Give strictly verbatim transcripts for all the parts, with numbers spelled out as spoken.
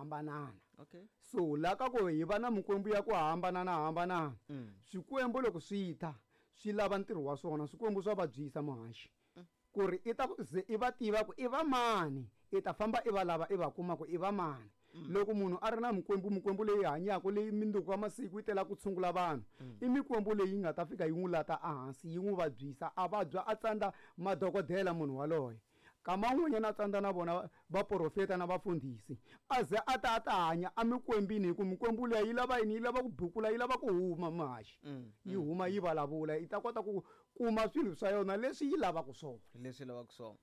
hambanana. Okay. So la ka ku hi va na mikwembu ya ku hambanana hambanana. Mm. Swikwembu loko swi ta swi lava ntirho wa swona, swikwembu swa vabyisa muhaxi. Mm. Ku ri i ta ku ze i va tiva ku i va mani, i ta famba i va lava i va kuma ku i va mani. Mm. Loko munhu a ri na mikwembu, mikwembu leyi hanyaka leyi mindzuku ya masiku yi tela ku tshungula vanhu. Mm. I mikwembu leyi nga ta fika yi n'wi lata ehansi, yi n'wi vabyisa, a vabya a tsandza madokodela munhu waloye. Kama un'wanyana a tsandza na vona vaprofeta na vafundhisi, a ze a ta a ta hanya emikwembini, hi ku mikwembu liya yi lava yini? Yi lava ku bukula, yi lava ku huma muhaxi. Mm, Yi mm, huma yi vulavula, yi ta kota ku kuma swilo swa yona leswi yi lavaka swona. Leswi lavaka swona.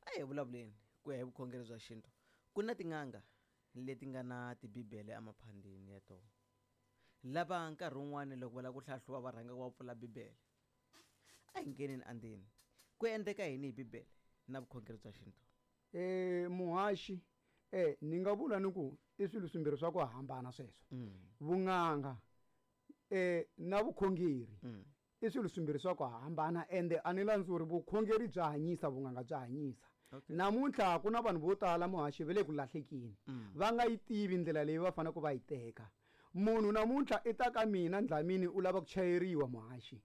A hi vulavuleni ku ya hi vukhongeri bya xintu. Ku na tin'anga leti nga na tibibele emaphandeni ya tona, lava nkarhi wun'wani loko va lava ku hlahluva va rhanga va pfula bibele. A hi ngheneni andzeni, ku endleka yini hi bibele na vukhongeri bya xintu? Eh, muhaxi, eh, ni nga vula ni ku i swilo swimbirhi swa ku hambana sweswo. Mm. Vun'anga, eh, na vukhongeri Mm. i swilo swimbirhi swa ku hambana, ende a ni landzuri vukhongeri bya hanyisa, vun'anga bya hanyisa. Okay. Namuntlha ku na vanhu vo tala muhaxi va le ku lahlekeni. Mm. Va nga yi tivi ndlela leyi va faneleke va yi teka. Munhu namuntlha i ta ka mina Ndlamini u lava ku chayeriwa muhaxi.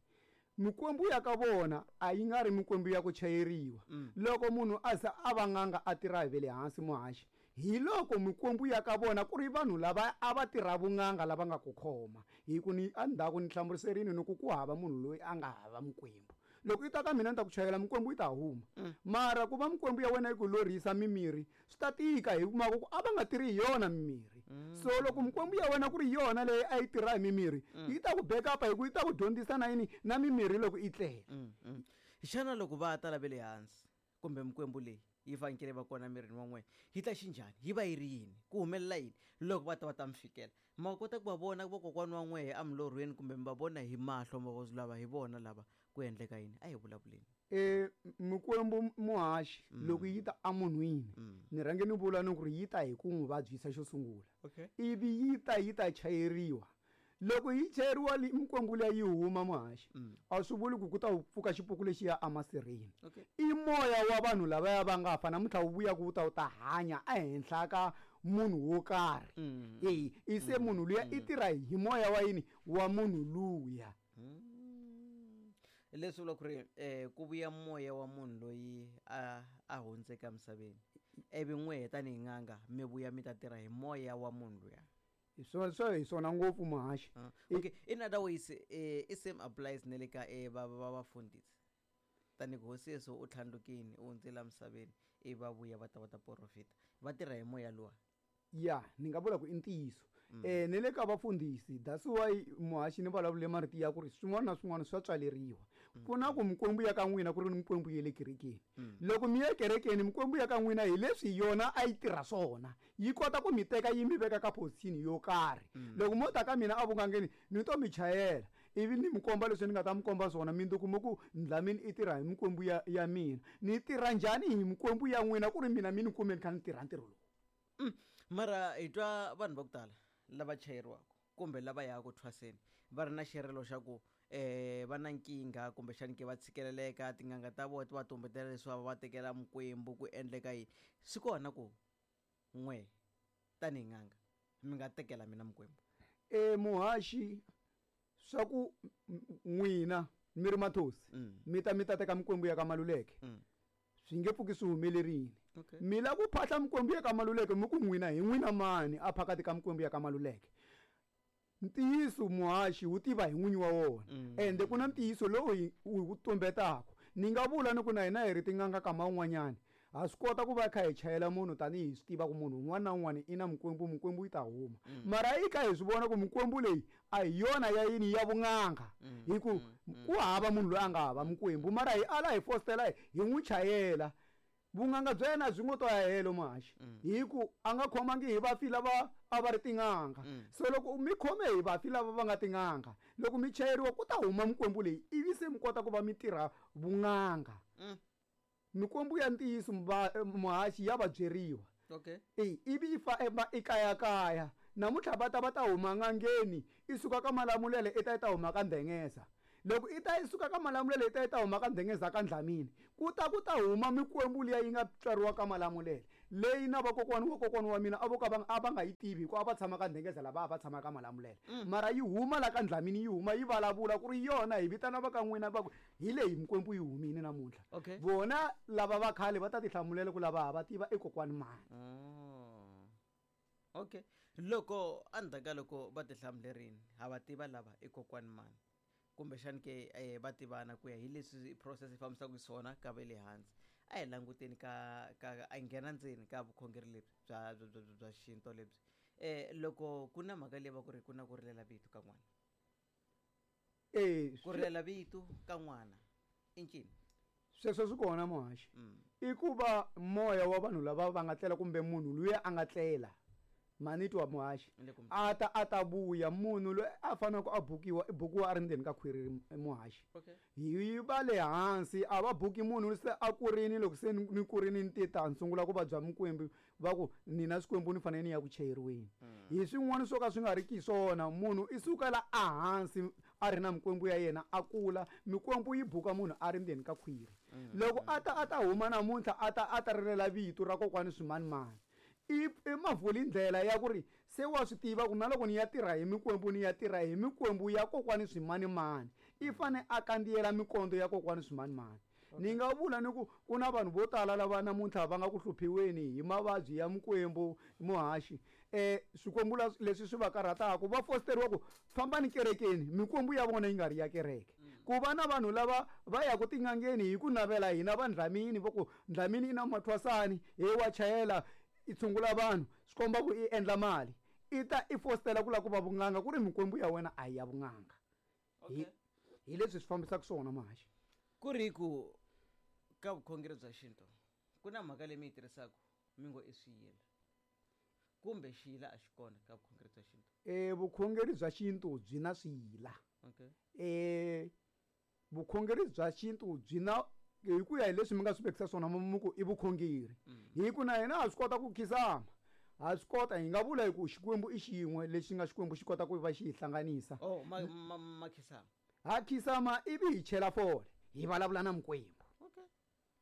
Mikwembu ya ka vona a yi nga ri mikwembu ya ku chayeriwa. Mm. Loko munhu a za a va n'anga a tirha hi ve le hansi muhaxi, hi loko mikwembu ya ka vona ku ri vanhu lava a va tirha vun'anga lava nga ku khoma. Hi ku ni endzhaku ni hlamuserini ni ku ku hava munhu loyi a nga hava mikwembu. Loko i ta ka mina ni ta ku chayela mikwembu yi ta huma. Mm. Mara ku va mikwembu ya wena yi ku lorhisa mimiri swi ta tika, hi mhaka ku a va nga tirhi hi yona mimiri. Mm. So loko mikwembu ya wena ku ri yona leyi a yi tirha hi mimiri, Mm. yi ta ku backup hi ku yi ta ku dyondzisa na yini na mimiri loko yi tlela. Mm, mm. Xana loko va ta lava le hansi kumbe mikwembu leyi yi fanekele va kona mirini wa n'wina, yi ta xinjhani? Yi va yi ri yini? Ku humelela yini loko va ta va ta mi fikela? Ma kota ku va vona vakokwana wa n'wehe emilorhweni kumbe mi va vona hi mahlo, ma va lava hi vona lava ku endleka yini? A hi vulavuleni. Eh, mikwembu muhaxi, Mm. loko yi ta emunhwini, Mm. ni rhange ni vula ni ku ri yi ta hi ku n'wi vabyisa xo sungula. Okay. Ivi yi ta yi ta chayeriwa. Loko yi chayeriwa li-, mikwembu liya yi huma muhaxi, Mm. a swi vuli ku ku ta pfuka xipuku lexiya emasirheni. Okay. I moya wa vanhu lavaya va nga fa namuntlha wu vuya ku wu ta wu ta hanya ehenhla ka munhu wo karhi. Mm. E, i se Mm. munhu luya i Mm. tirha hi moya wa yini? Wa munhu luya. Mm. Leswi vula ku ri, eh, ku vuya moya wa munhu loyi a, a hundzeke emisaveni, ivi n'wehe tanihi n'anga mi vuya mi ta tirha hi moya wa munhu luya. Hi swona, swo hi swona ngopfu muhaxi. Ah, I okay. In other ways, eh, i same applies ne le ka, eh, va, va vafundhisi. Tanihi hosi Yesu u tlhandlukile, u hundzile emisaveni, ivi va vuya va ta va ta profita. Va tirha hi moya luwa. Ya, ni nga vula ku i ntiyiso. Mm. Eh, ne le ka vafundhisi, that's why muhaxi ni vulavule marito ya ku ri swin'wana na swin'wana swa tswaleriwa. Mm. Ku na ku mikwembu ya ka n'wina ku ri ni mikwembu ya le kerekeni. Mm. Loko mi ya kerekeni, mikwembu ya ka n'wina hi leswi yona a yi tirha swona. Yi kota ku mi teka yi mi veka ka position yo karhi. Mm. Loko mo ta ka mina evugangeni, ni to mi chayela, ivi ni mi komba leswi ni nga ta mi komba swona, mi ndzi kuma ku Ndlamini i tirha hi mikwembu ya, ya mina. Ni tirha njhani hi mikwembu ya n'wina ku ri mina mi ni kume ni kha ni tirha ntirho lowu? Mm. Mara hi twa vanhu va ku tala lava chayeriwaka kumbe lava yaka ku thwaseni va ri na xirilo xa ku, eh, va na nkingha kumbexani ke va tshikeleleka, tin'anga ta vona ti va tumbetela leswi va tekela mikwembu, ku endleka yini? Swi kona ku n'we tanihi n'anga mi nga tekela mina mikwembu? Eh, muhaxi, swa ku n'wina mi ri mathosi, Mm. mi ta mi ta teka mikwembu ya ka Maluleke. Mm. Swi nge pfuki swi humelerile. Okay. Mi lava ku phahla mikwembu ya ka Maluleke, mi ku n'wina hi n'wina mani a phakati ka mikwembu ya ka Maluleke? Ntiyiso muhaxi wu tiva hi n'winyi wa wona. Mm. Ende ku na ntiyiso lowu hi wu tumbetaka. Ni nga vula ni ku na hina hi ri tin'anga kama un'wanyani, ha swi kota ku va kha hi chayela munhu tanihi hi swi tiva ku munhu un'wana na un'wana i na mikwembu, mikwembu yi ta huma. Mm. Mara yi kha hi swi vona ku mikwembu leyi a hi yona ya yini ya vun'anga. Mm. Hi ku Mm. Mm. ku hava munhu loyi a nga hava mikwembu, mara hi ala hi fostela hi n'wi chayela. Vun'anga bya yena byi ngo to ya helo muhaxi. Mm. Hi ku a nga khomangi hi vafi lava a va ri tin'anga. Mm. So loko mi khome hi vafi lava va nga tin'anga, loko mi chayeriwa ku ta huma mikwembu leyi, ivi se mi kota ku va mi tirha vun'anga. Mm. Mikwembu ya ntiyiso mba-, muhaxi ya va byeriwa. Okay. E, ivi yi fa ema, i kayakaya. Namuntlha va ta va ta huma n'angeni, i suka ka Malamulele i ta yi ta huma ka Ndengeza. Loko i ta yi suka ka Malamulele i ta yi ta huma ka Ndengeza ka Ndlamini, ku ta ku ta huma mikwembu liya yi nga tswariwa ka Malamulele. Leyi na vakokwani wa kokwani wa mina a vo ka va a va nga yi tivi hikuva a va tshama ka Ndhengeza lava a va tshama ka Malamulele. Mara yi huma la ka Ndlamini yi huma yi vulavula ku ri yona hi vitana va ka n'wina va ku hi leyi mikwembu yi humile namuntlha. Okay. Vona lava va khale va ta ti hlamulela ku lava ha va tiva i kokwani mani. Oh. Okay. Loko endzhaku ka loko va ti hlamulerini ha va tiva lava i kokwani mani kumbexani ke eh, va tivana ku ya hi leswi process yi fambisaka xiswona ka va le hansi a hi languteni ka ka a hi nghena ndzeni ka vukhongeri lebyi bya bya bya bya xintu lebyi eh loko ku na mhaka leyi va ku ri ku na ku rilela vito ka n'wana Eh, ku rilela vito ka n'wana i ncini sweswo swi kona muhaxi. Mm. I ku va moya wa vanhu lava va nga tlela kumbe munhu luya a nga tlela mani twa muhaxi Ni le ku mi- a ta a ta vuya munhu loyi a faneleke a bukiwa i bukiwa a ri ndzeni ka khwiri muhaxi. Okay. Hi va le hansi a va buki munhu se a kurini loko se ni kurini ni ti ta ni sungula ku vabya mikwembu va ku ni na swikwembu ni fanele ni ya ku chayeriweni. Hi swin'wana swo ka swi nga ri ki swona munhu i sukela ehansi a ri na mikwembu ya yena a kula mikwembu yi buka munhu a ri ndzeni ka khwiri. Loko a ta a ta huma namuntlha a ta a ta rilela vito ra kokwani swimanimani i i mavuli ndlela ya ku ri se wa swi tiva ku na loko ni ya tirha hi mikwembu ni ya tirha hi mikwembu ya kokwani swimanimani i fane a kandziyela mikondo ya kokwani swimanimani. Ni nga vula ni ku ku na vanhu vo tala lava namuntlha va nga ku hluphiweni hi mavabyi ya mikwembu muhaxi. Eh swikwembu leswi swi va karhataka va fosteriwa ku fambani kerekeni mikwembu ya vona yi nga ri ya kereke. Ku va na vanhu lava va yaka tin'angeni hi ku navela hina va Ndlamini va ku Ndlamini i na mathwasani he wa chayela i tshungula vanhu swi komba ku i endla mali i ta i fostela ku lava ku va vun'anga ku ri mikwembu ya wena a hi ya vun'anga. Okay. Hi leswi swi fambisaka swona muhaxi. Ku ri ku ka vukhongeri bya xintu ku na mhaka leyi mi yi tirhisaka mi ngo i swiyila kumbe xiyila a xi kona ka vukhongeri bya xintu? Eh vukhongeri bya xintu byi na swiyila. Okay. Eh vukhongeri bya xintu byi na hi ku ya hi leswi mi nga swi vekisa swona mi ku i vukhongeri. Hi ku na hina ha swi kota ku khisama ha swi kota hi nga vula hi ku Xikwembu i xin'we lexi nga Xikwembu xi kota ku va xi hi hlanganisa. Oh, ma, ma, ma khisama. Ha khisama ivi hi chela fole hi vulavula na mikwembu. Okay.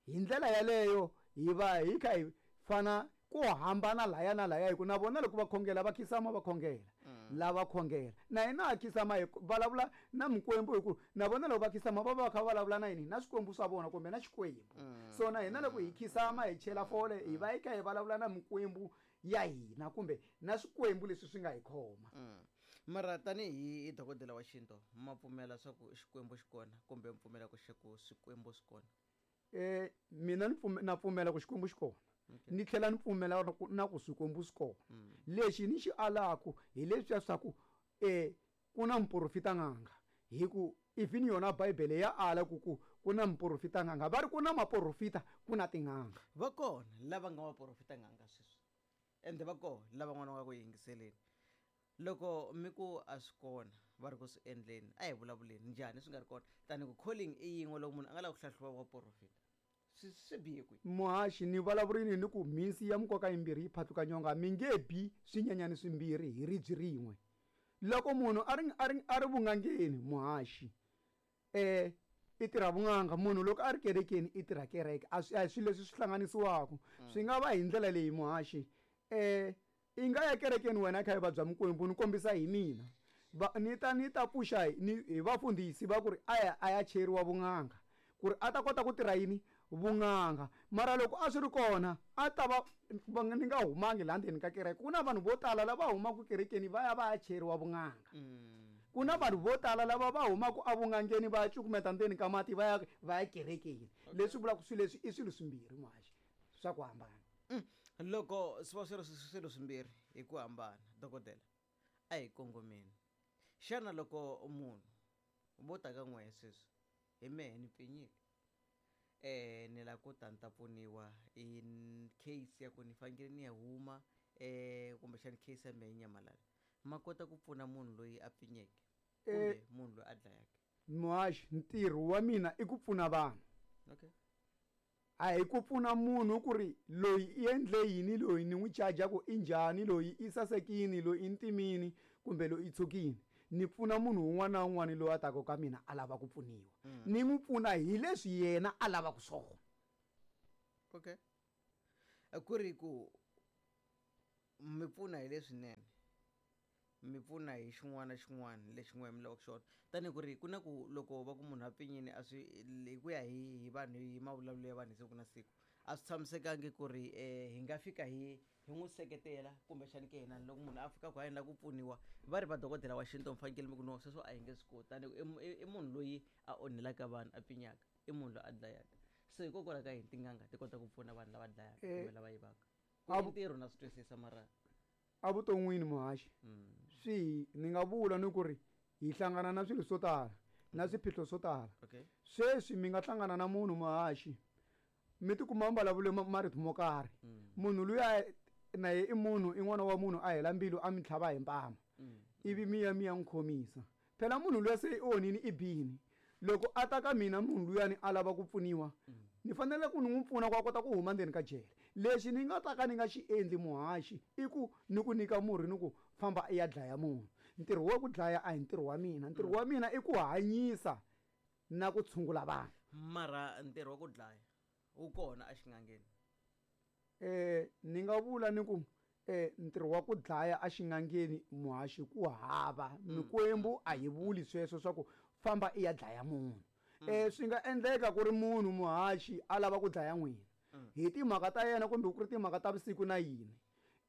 Hi ndlela yaleyo hi va hi kha hi fana ku hambana laya na laya hi ku na vona loko va khongela va khisama va khongela lava khongela na hina ha khisama hi vulavula na mikwembu hi ku na vona loko va khisama va va va kha va vulavula na yini na swikwembu swa vona kumbe na Xikwembu. So na hina loko hi khisama hi chela fole hi va hi kha hi vulavula na mikwembu ya hina kumbe na swikwembu leswi swi nga hi khoma. Mara tanihi dokodela wa xintu ma pfumela swa ku Xikwembu xi kona kumbe mi pfumela ku ku swikwembu swi kona? Eh mina ni na pfumela ku Xikwembu xi kona. Okay. Ni tlhela ni pfumela na ku swikwembu swi kona. Lexi ni xi alaku hi leswiya swa ku eh ku na muprofita n'anga hi ku even yona Bibele ya ala ku ku ku na muprofita n'anga va ri ku na maprofita ku na tin'anga. Va kona lava nga maprofita n'anga sweswi ende va kona lava n'wana wa ku yingiseleni loko mi ku a swi kona va ri ku swi endleni a hi vulavuleni njhani swi nga ri kona tani ku calling i yin'we loko munhu a nga lavi ku hlahluva wa profita swi swi bihe kwihi? Muhaxi ni vulavurini ni ku mhinsi ya mikoka yimbirhi yi phatluka nyonga mi nge bi swinyenyani swimbirhi hi ribye rin'we. Loko munhu a ri a ri a ri vun'angeni muhaxi eh i tirha vun'anga munhu loko a ri kerekeni i tirha kereke a swi a hi swilo leswi swi hlanganisiwaka swi nga va hi ndlela leyi muhaxi eh i nga ya kerekeni wena kha i vabya mikwembu ni kombisa hi mina va ni ta ni ta pfuxa ni hi vafundhisi va ku ri a ya a ya cheriwa vun'anga ku ri a ta kota ku tirha yini vun'anga mara loko a swi ri kona a ta va ni nga humangi laha ndzeni ka kereke ku na vanhu vo tala lava humaka kerekeni va ya va ya cheriwa vun'anga. Ku na vanhu vo tala lava va humaka evun'angeni va ya cukumeta ndzeni ka mati va ya va ya kerekeni. Leswi vulaka swilo leswi i swilo swimbirhi muhaxi swa ku hambana. Loko swi va swi ri swilo swimbirhi hi ku hambana dokodela a hi kongomeni xana loko munhu vo ta ka n'we sweswi hi mehe ni pfinyile eh ni la ku ta ni ta pfuniwa hi case ya ku ni fanekele ni ya huma eh kumbexana case ya mehe nyamalala ma kota ku pfuna munhu loyi a pfinyeke kumbe munhu loyi a dlayaka? Muhaxi ntirho wa mina i ku pfuna vanhu. Okay. A hi ku pfuna munhu ku ri loyi i endle yini loyi ni n'wi charge ku i njhani loyi i sasekini loyi i ntimini kumbe loyi i tshukini. Ni pfuna munhu un'wana na un'wana loyi a taka ka mina a lava ku pfuniwa. Ni n'wi pfuna hi leswi yena a lavaka swona. Okay. Ku ri ku mi pfuna hi leswinene, mi pfuna hi xin'wana na xin'wana lexi n'we mi lavaka xona. Tanihi ku ri ku na ku loko va ku munhu a pfinyini a swi hi ku ya hi hi vanhu hi mavulavulelo ya vanhu hi siku na siku a swi tshamisekangi ku ri um hi nga fika hi hi n'wi seketela kumbexani ke hina loko munhu a fika ku a endla ku pfuniwa va ri va dokodela wa xintu mi fanekele mi ku no sweswo a hi nge swi koti tanihi ku i i munhu loyi a onhelaka vanhu a pfinyaka i munhu loyi a dlayaka se hikokwalaho ka yini tin'anga ti kota ku pfuna vanhu lava dlayaka kumbe lava yivaka ku ntirho na swi twisisa mara evuton'wini muhaxi swi ni nga vula ni ku ri hi hlangana na swilo swo tala na swiphiqo swo tala okay sweswi mi nga hlangana na munhu muhaxi mi tikuma mi vulavule marito mo karhi munhu luya na ye i munhu i n'wana wa munhu a hela mbilu a mi tlhava hi mpama ivi mi ya mi ya n'wi khomisa phela munhu luya se i onhini i bini loko a ta ka mina munhu luyani a lava ku pfuniwa ni fanele ku ni n'wi pfuna ku a kota ku huma ndzeni ka jele lexi ni nga ta ka ni nga xi endli muhaxi i ku ni ku nyika murhi ni ku famba i ya dlaya munhu ntirho wa ku dlaya a hi ntirho wa mina ntirho wa mina i ku hanyisa na ku tshungula vanhu mara ntirho wa ku dlaya wu kona exingangeni eh ni nga vula ni ku eh ntirho wa ku dlaya exingangeni muhaxi ku hava mikwembu a yi vuli sweswo swa ku famba i ya dlaya munhu eh swi nga endleka ku ri munhu muhaxi a lava ku dlaya n'wina hi timhaka ta yena kumbe ku ri timhaka ta vusiku na yini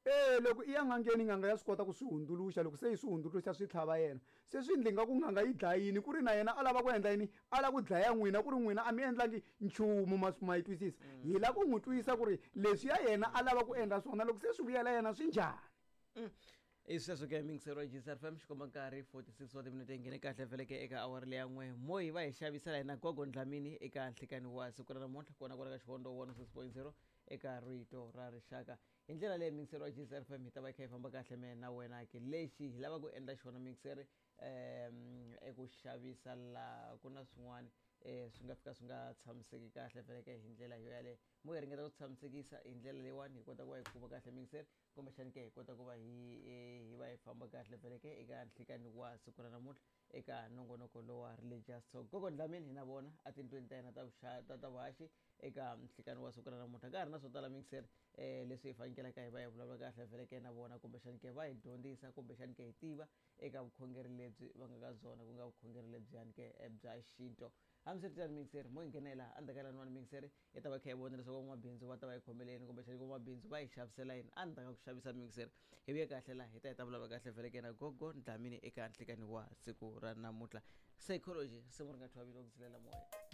e loko i ya n'angeni n'anga ya swi kota ku swi hundzuluxa loko se yi swi hundzuluxa swi tlhava yena se swi endli nga ku n'anga yi dlayini ku ri na yena a lava ku endla yini a lava ku dlaya n'wina ku ri n'wina a mi endlangi nchumu ma ma yi twisisa hi lava ku n'wi twisa ku ri leswi ya yena a lava ku endla swona loko se swi vuyela yena swi njhani i sweswo ke mingisero wa G S R F M xikomba nkarhi forty-six wa timinete yi nghene kahle veleke eka awara leya n'we mo hi va hi xavisela hina Gogo Dlamini eka nhlikani wa siku ra namuntlha kona kwala ka Xivondho one oh six point zero eka Rito ra Rixaka. Hi ndlela leyi mingisero wa G S R F M hi ta va hi kha hi famba kahle me na wena ke lexi hi lava ku endla xona mingiseri um eku xavisa laha ku na swin'wana um swi nga fika swi nga tshamiseki kahle veleke hi ndlela yo yaleyo mo hi ringeta ku tshamisekisa hi ndlela leyiwani hi kota ku va hi kuma kahle mingiseri kumbexani ke hi kota ku va hi hi va hi famba kahle veleke eka nhlikani wa siku ra namuntlha eka nongonoko lowa Religious Talk. Gogo Dlamini hi na vona etindlwini ta hina ta ta ta vuhaxi eka nhlikani wa siku ra namuntlha ka ha ri na swo tala mingiseri um leswi hi fanekelaka hi va hi vulavula kahle veleke na vona kumbexani ke va hi dyondzisa kumbexani ke hi tiva eka vukhongeri lebyi va nga ka byona ku nga vukhongeri lebyiyani ke bya xintu. Hambiswiritano mingiseri mo hi nghenela endzhaku ka laniwani mingiseri hi ta va kha hi vona leswaku van'wamabindzu va ta va hi khomeleni kumbexani van'wamabindzu va hi xavisela yini endzhaku ka ku xavisa mingiseri hi vuye kahle laha hi ta hi ta vulavula kahle veleke na Gogo Dlamini eka nhlikani wa siku ra namuntlha. Psychology risimu ri nga thyiwa vito ku zilela moya.